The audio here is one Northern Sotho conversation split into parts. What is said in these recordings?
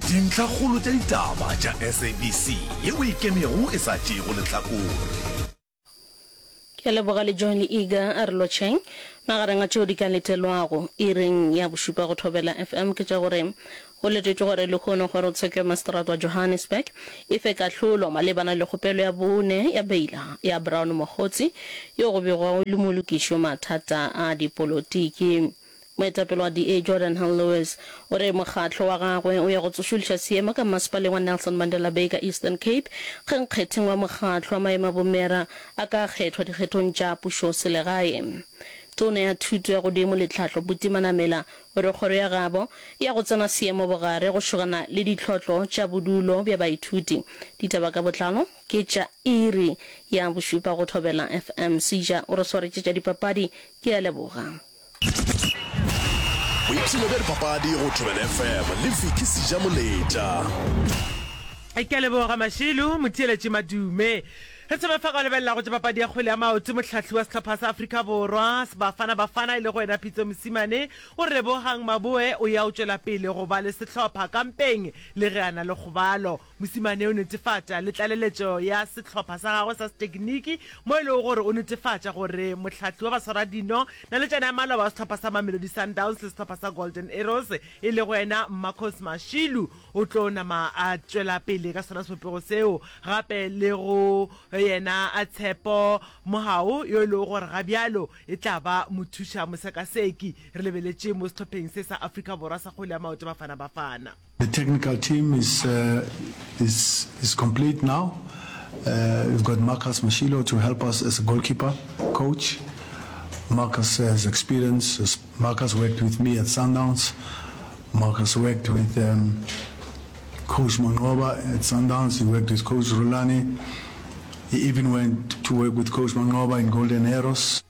Dintlhakgolo tša ditaba tša SABC yeo e ikemego e sa tšeego lehlakore. Ke a leboga le Johnny Eager a re lotšheng. Magareng a tšeo di ka letelwago iring ya bošupa go Thobela FM ke tša gore go letetšwe gore lehono kgorotsheko ya maseterata wa Johannesburg e fe kahlolo malebana le kgopelo ya bone ya beila ya Brown Mogotsi yo go begwago e le molokiši wa mathata a dipolotiki. Moetapele wa DA Geordin Hill-Lewis o re mokgatlo wa gagwe o ya go tsošološa seemo ka mmasepaleng wa Nelson Mandela Bay ka Eastern Cape ge nkgetheng wa mokgatlo wa maemo a bomera a ka kgethwa dikgethong tša pušoselegae. Tona ya Thuto ya Godimo le Tlhahlo Buti Manamela o re kgoro ya gabo e ya go tsena seemo bogare go šogana le ditlhotlo tša bodulo bja baithuti. Ditaba ka botlalo ke tša iri ya bošupa go Thobela FM. Seja o re swaretše tša dipapadi. Ke a leboga. Boipshino bja dipapadi go Thobela FM le Vicky Sejamoletša. Ke a leboga Mašilu, motheeletši Madume. Re thome fa ka go lebelela go tša papadi ya kgwele ya maoto. Mohlahli wa sehlopha sa Afrika Borwa, Bafana Bafana, e lego yena Pitso Mosimane, o re Lebogang Maboe o ya o tšwela pele go ba le sehlopha kampeng le ge a na le kgobalo. Mosimane o netefatša le tlaleletšo ya sehlopha sa gagwe sa setekiniki mo e lego gore o netefatša gore mohlahli wa baswaradino naletšana ya maloba wa sehlopha sa Mamelodi Sundowns le sehlopha sa Golden Arrows e lego yena Marcos Mashilu o tlo nama a tšwela pele ka sona sebopego seo gape le go yena Tshepo Mohau yo e lego gore ga bjalo e tla ba mothuša mosekaseki re lebeletše mo sehlopheng se sa Afrika Borwa sa kgwele ya maoto Bafana Bafana. The technical team is is is complete now. We've got Marcus Mashilo to help us as a goalkeeper coach. Marcus has experience. Marcus worked with me at Sundowns. Marcus worked with um, Coach Manqoba at Sundowns. He worked with Coach Rulani. He even went to work with Coach Manqoba in Golden Arrows.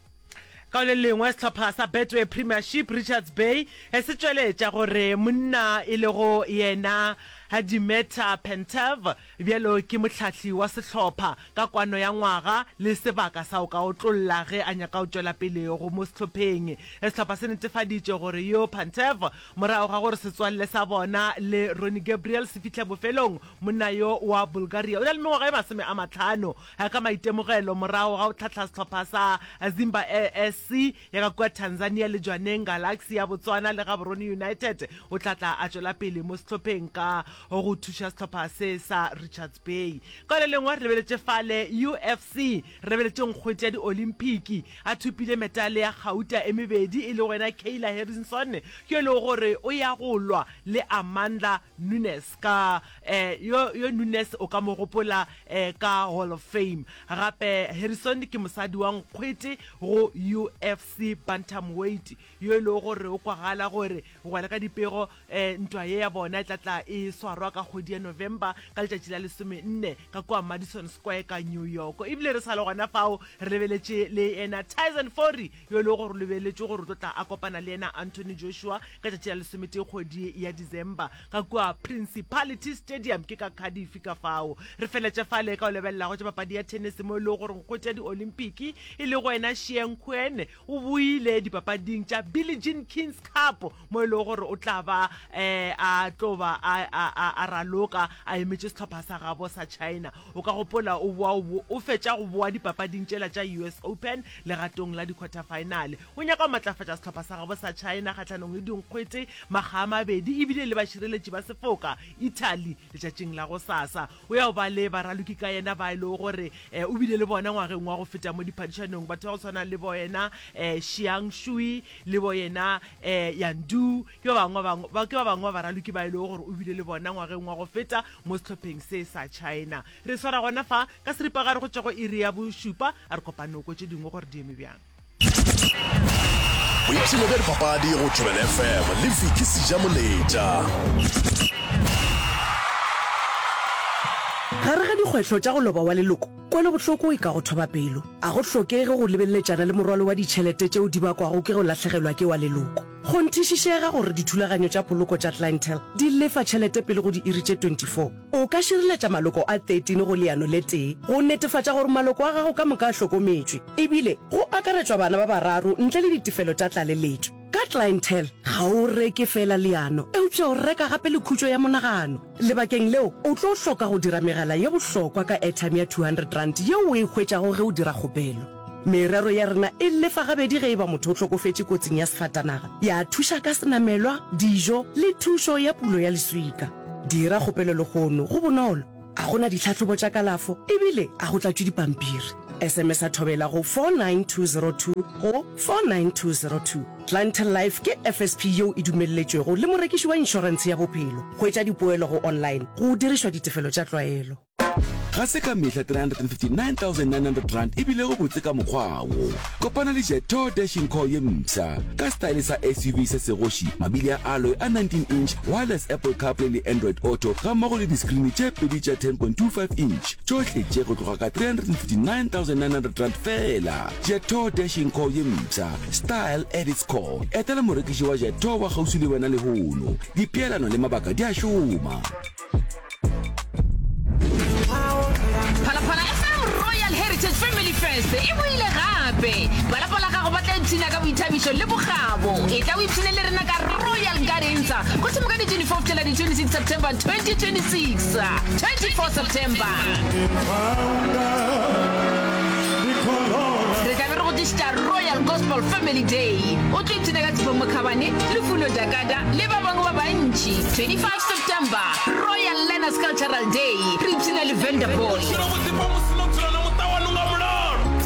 Ka le lengwe, sehlopha sa Betway Premiership Richards Bay se tšweletša gore monna e lego yena Dimitar Pantev bjalo ke mohlahli wa sehlopha ka kwano ya ngwaga le sebaka sa go ka otlolla ge a nyaka go tšwela pele go mo sehlopheng. Sehlopha se netefaditše gore yo Pantev morago ga gore setswalle sa bona le Ronnie Gabriel se fihle bofelong, monna yo wa Bulgaria o na le mengwaga e 50. Ka maitemogelo morago ga go hlahla sehlopha sa Zimba SC ya ka kua Tanzania le Jwaneng Galaxy ya Botswana le Gaborone United, o tla tla a tšwela pele mo sehlopheng ka go thuša sehlopha se sa Richards Bay. Ka le lengwe re lebeletše fale UFC, re lebeletše nkgwete ya di-Olymphiki a thopile metale ya gauta e mebedi e lego yena Kayla Harrison yo e lego gore o ya go lwa le Amanda Nunes ka eh, yo, yo Nunes o ka mo gopola eh, ka Hall of Fame. Gape Harrison ke mosadi wa nkgwete go UFC Bantamweight yo e lego gore o kwagala gore go ya le ka dipego eh, ntwa ye ya bona e tla tla e swarwa ka kgwedi ya November ka letšatši la lesomenne ka kua Madison Square ka New York. Ebile re sa le gona fao re lebeletše le yena Tyson Fury yo e lego gore o lebeletšwe gore o tlo tla a kopana le yena Anthony Joshua ka tšatši la lesometee kgwedi ya December ka kua Principality Stadium ke ka Cardiff. Ka fao re feletše fale ka go lebelela go tša papadi ya tennis mo e lego gore nkgwete ya di-Olympic e lego yena Shieng Kuen o boile dipapading tša Billie Jean King's Cup mo e lego gore o tla ba um a tlo ba a, a, a, a raloka a emetše sehlopha sa gabo sa China. O ka gopola o boa o, o fetša go boa dipapading tšela tša US Open legatong la di-quarter-final. O nyaka go matlafatša sehlopha sa gabo sa China kgahlanong le dinkgwete makga a mabedi ebile le bašireletši ba sefoka Italy letšatšing la gosasa. O ya go ba le baraloki ka yena ba e lego gore o bile le bona ngwageng wa go feta mo diphadišanong, batho ba go tshwana le bo yena Xiang Shui le bo yena Yan Du, ke ba bangwe ba ke ba bangwe ba baraloki ba e lego gore o bile le bona ngwageng wa go feta mo sehlopheng se sa China. Re swara gona fa ka seripagare go tšwa go iri ya bošupa, a re kopane o kwe tše dingwe gore di eme bjang. Boipshino bja dipapadi go Thobela FM le Vicky Sejamoletša. Gare ga dikgwetlho tša go loba wa leloko, kwelobohloko e ka go thoba pelo. A go hlokege go lebeleletšana le morwalo wa ditšhelete tšeo di bakwago ke go lahlegelwa ke wa leloko. Kgonthišišega gore dithulaganyo tša poloko tša Clientele di lefa tšhelete pele go diiri tše 24. O ka šireletša maloko a 13 go leano le tee go netefatša gore maloko a gago ka moka a hlokometšwe, ebile go akaretšwa bana ba bararo ntle le ditefelo tša tlaleletšo. Ka Clientele ga o reke feela leano, eupša o reka gape le khutšo ya monagano. Lebakeng leo, o tlo hloka go dira megala ye bohlokwa ka airtime ya R200 yeo o e hwetšago ge o dira kgopelo. Merero ya rena e lefa gabedi ge e ba motho o hlokofetše kotsing ya sefatanaga, ya thuša ka senamelwa, dijo le thušo ya pulo ya leswika. Dira kgopelo lehono, go bonolo, a go na ditlhahlobo tša kalafo ebile a go tlatšwe dipampiri. SMS-a Thobela go 49202 go 49202. Clientele Life ke FSP yeo e dumelletšwego le morekiši wa inšorentshe ya bophelo. Hwetša dipoelo go online go dirišwa ditefelo tša tlwaelo. Ga se ka mehla R359 900 e bilego botse ka mokgwa wo. Kopana le Jetour Dashing Core ye mpsha, ka setaele sa SUV se segoši, mabili a alloy a 19 inch, wireless Apple CarPlay le Android Auto gammogo le diskrini tše pedi tša 10.25 inch, tšohle tše go tloga ka R359 900 feela. Jetour Dashing Core ye mpsha, style at its core. Etela morekiši wa Jetour wa kgauswi le wena lehono. Dipeelano le mabaka di a šoma. Phalaphala FM Royal Heritage Family Fest e boile gape. Ba lapa la gago ba tla ipshina ka boithabišo le bokgabo. Etla o ipshine le rena ka Royal Gardens go thoma ka di 24 go fihlela di 26 September 2026. 24 September. Re tla be re go tlišetša Royal Gospel Family Day. O tlo ipshina ka Tshepo Mokhabane, Lufuno Dakada le ba bangwe ba bantši. 25 September, Royal Learners Cultural Day, re ipshina le Vanderboy,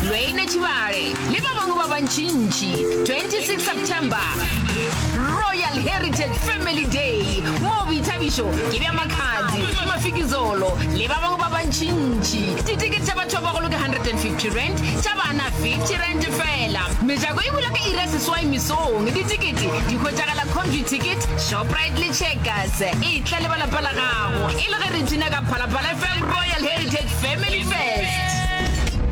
Lwene Tšhibale le ba bangwe ba bantšintši. 26 September, Royal Heritage Family Day, moo boithabišo ke bja Makhadzi, Mafikizolo le ba bangwe ba bantšintši. Ditekete tša batho ba bagolo ke R150, tša bana R50 feela. Mejako e bula ka iri ya seswai mesong. Ditekete di hwetšagala Computicket, Shoprite le Checkers. Etla le ba lapa la gago e le ge re ipshina ka Phalaphala FM Royal Heritage Family Fest.